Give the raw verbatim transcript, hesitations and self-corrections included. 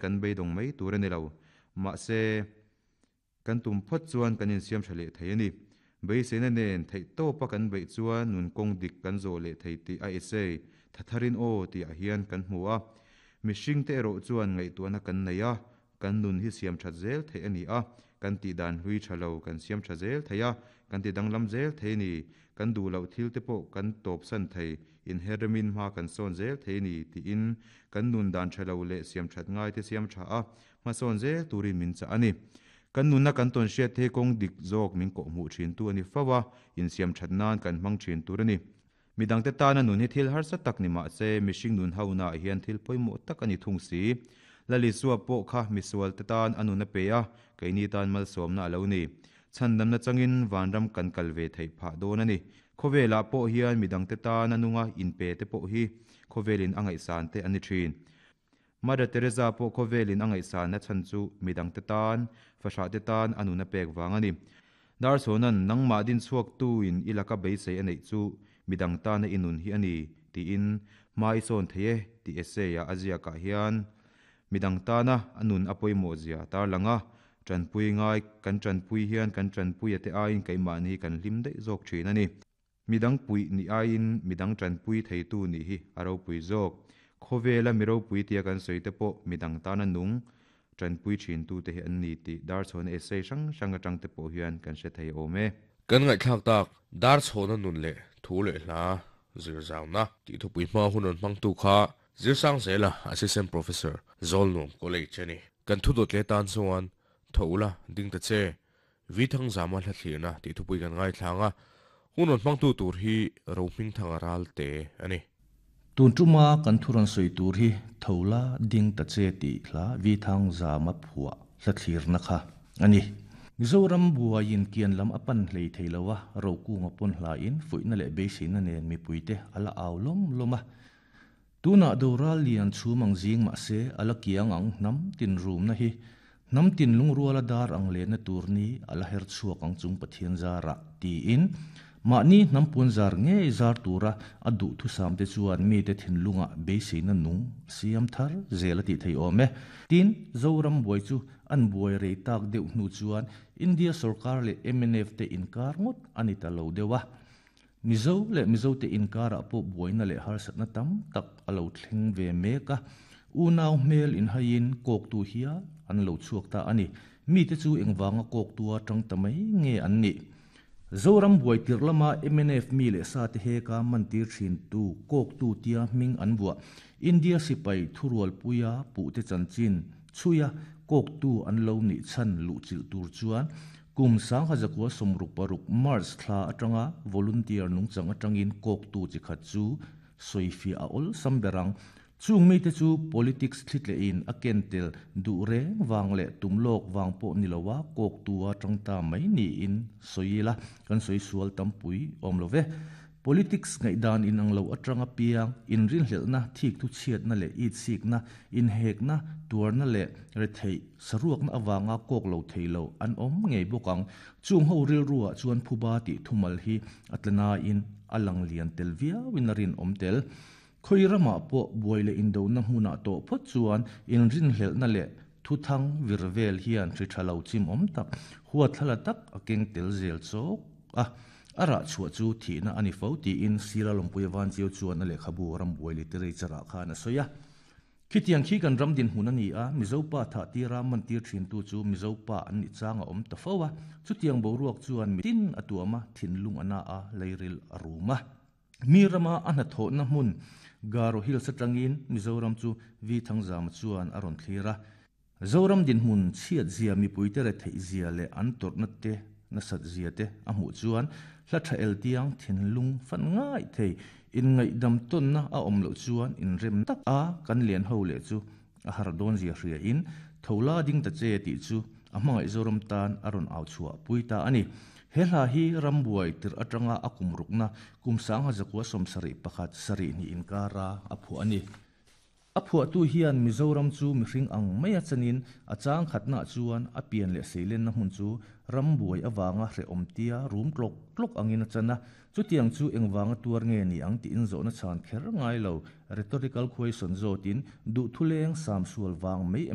Kan beidawng mai tur a ni lo. Mahse, kan tum phawt chuan kan insiam tha leh thei a ni. Beiseina nen theih tawpa kan beih chuan nun kawng dik kan zawh leh thei tih a essay Thatharin Aw tihah hian kan hmu a. Mihringte erawh chuan ngaihtuahna kan nei a, kan nun hi siam that zel theih a ni a, kan tih dan hlui tha lo kan siam tha zel thei a, kan ti danglam zel thei a ni, kan duh loh thil te pawh kan tawpsan thei, inherremin hma kan sawn zel thei a ni tiin kan nun dan tha lo leh siam that ngai te siam tha a, hmasawn zel turin min chah a ni. Kan nunna kan tawn hriat thei kawng dik zawk min kawhhmuh thin tu a ni fo a, insiam that nan kan hmang thin tur a ni. Midangte tana nun hi thil harsa tak ni mah se, mihring nun honaah hian thil pawimawh tak a ni thung si. Lalisua pawh kha misual te tan a nun a pe a, keini tan malsawmna a lo ni. Chhandamna changin vanram kan kal ve theih phah dawn a ni. Khawvelah pawh hian midangte tana nunga inpe te pawh hi khawvelin a ngaihsan te a ni thin. Mother Teresa pawh khawvelin a ngaihsanna chhan chu midangte tan, fahrah te tan a nun a pek vang a ni. Darchhawnan nangmah din chhuak tuin i laka beisei a neih chu midang tana i nun hi a ni tiin hma i sawn thei e tih essay-ah a ziakah hian midang tana a nun a pawimawh zia tarlang a, tanpui ngai kan tanpui hian kan tanpui a te aiin keimahni kan hlim daih zawk thin a ni. Midang pui ni aiin midang tanpui theitu nih hi a ropui zawk. Khawvela mi ropui tia kan sawi te pawh midang tana nung tanpui thin tu te hi an ni tih Darchhawna essay hrang hrang atang te pawh hian kan hre thei awm e. Kan ngaihthlak tak Darchhawna nun leh thu leh hla zir zauna tih thupui hma hun rawn hmangtu kha Zirsang Zela Assistant Professor Zawlnuam College a ni. Kan thu dawt leh tan chuan tho ula ding ta che Vi Thangzama hla thlirna tih thupui kan ngaithlang a, hun rawn hmangtu tur hi Rohming Thanga ral te a ni. Tun tuma kan thu rawn sawi tur hi tho la ding ta che tih hla Vi Thangzama phuah hla thlirna kha a ni. Mizoram buaiin kian lam a pan hlei thei lo a, Rokunga pawn hlain fuihna leh beiseina nen mipuite a la au lawm lawm a. Tunah doral lian chhum ang zing mah se a la kiang ang hnam tin rumna hi hnam tin lungruala dar ang lehna tur ni a la her chhuak ang chung Pathian zarah tiin mahni hnam puan zar ngei zar tura a duh thusam te chuan mite thinlunga beiseina nung siam thar zel a tih thei awm e. Tin, Zoram buai chu an buai rei tak deuh hnu chuan India sarkar leh M N F te inkar ngawt a ni ta lo deuh a. Mizo leh Mizo te inkarah pawh buaina leh harsatna tam tak a lo thleng ve mek a. Unau hmel inhaiin kawktu hial an lo chhuak ta a ni. Mite chu engvanga kawktua tang ta mai nge an ni. Zoram buai tirh lama M N F mi leh sa te heka mantir thin tu kawktu tia hming an buah. India sipai thurual puia puh te chanchin chhuia kawktu an lo nih chan luh chilh tur chuan kum sang kha zakua sawmruk paruk March thla atanga volunteer nungchang atangin kawktu chi khat chu sawifiah a awl sam berang. Chung mi te chu politics thlitle in a kentel duh reng wang leh tumlok wang pawh ni lowa kawktua tangta mai ni in sawila kan sawi sual tampui awm lo ve. Politics ngaihdan in ang lo atanga piang in rin hlelna thik thu chhiatna leh it sikna in hekna tuarna leh rethei saruakna awanga kawk lo theilo an awm ngei bawkang. Chung ho ril ruwa chuan phuba ti thumal hi atlana in alang lian tel viau in a rin awm tel. Khoi rama pawh buai leh indona hmunah tawh phawt chuan in rin hlelna leh thuthang virvel hian hri tha lo chim awm tak huat thlala tak a keng tel zel chawk a. A rah chhuah chu thihna a ni fo tiin Sira Lawmpuia van chiu chuan a lehkhabu ram buai literature ah khan a sawi a. Khitiang khi kan ram din hmun a ni a, Mizopa tha tira mantir thin tu chu Mizopa an ni chang a awm ta fo a. Chutiang boruak chuan mi tin a tuama thinlung ana a leiril a ruma. Mi rama a hna thawhna hmun Garo Hills atangin Mizoram chu Vi Thangzama chuan a rawn thlir a. Zoram din hmun chhiat zia mipui te re theih zia leh an tawrhna te na sat zia te a hmuh chuan hla tha el tiang thinlung fan ngai thei in ngaihdam tawnna a awm loh chuan in rem tak a kan lian ho leh chu a har dawn zia hria in thola ding ta che tih chu a hmangaih Zoram tan a rawn au chhuah pui ta a ni. He hla hi ram buai tir atanga a kum rukna kum sang ha zakua sawm sarih pakhat sarih ni inkara a phuah a ni. A A phuahtu hian Mizoram chu mihring ang maia chanin a chang khatna chuan a pian leh seilenna hmun chu ram buai awanga hrehawm tia rum tlok tlok angin a chana chutiang chu engwanga tuar nge ni ang ti in zawhna chhan kher ngai lo rhetorical question zawtin duh thuleng sam sual wang mai em